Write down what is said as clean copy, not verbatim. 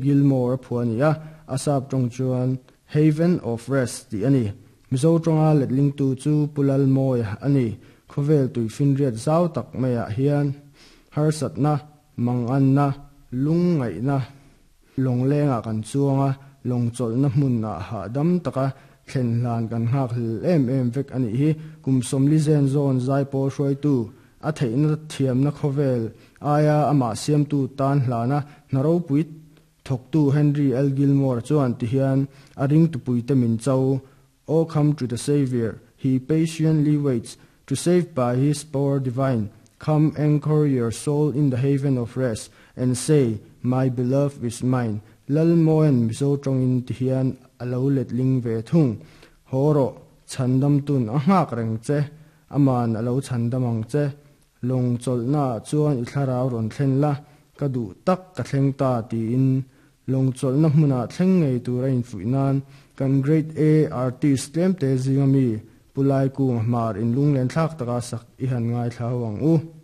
Gilmore a phuah a ni a, a sap tawng chuan Haven of Rest tih a ni. Mizo tawnga letlingtu chu Pu Lalmawia a ni. Khawvel tuifinriat zau tak maiah hian harsatna, manganna, lungngaihna, Lawnglengah kan chuang a, lawng chawlhna hmunah hahdam taka thlen hlan kan nghak hlel em em vek a nih hi. Kum 40 zen zawn zaipawl hruaitu, a theihna thiamna khawvel aia amah siamtu tan hlana hna ropui thawktu Henry L. Gilmore chuan tihian a ringtupuite min cho, O come to the Saviour, he patiently waits to save by his power divine, come anchor your soul in the haven of rest and say, my beloved is mine. Lalmawia'n Mizo tawngin ti hian a lo letling ve thung. Haw rawh, chhandamtun a nghak reng che, aman a lo chhandam ang che. Lawng chawlhnaah chuan i thlarau rawn thlen la, ka duh tak ka thleng ta tiin lawng chawlhna hmunah thleng ngei tur a infuih nan kan Grade A artist tlemte zinga mi Pu Laikunga hmar inlunglen thlak taka sak i han ngaithla ho ang u.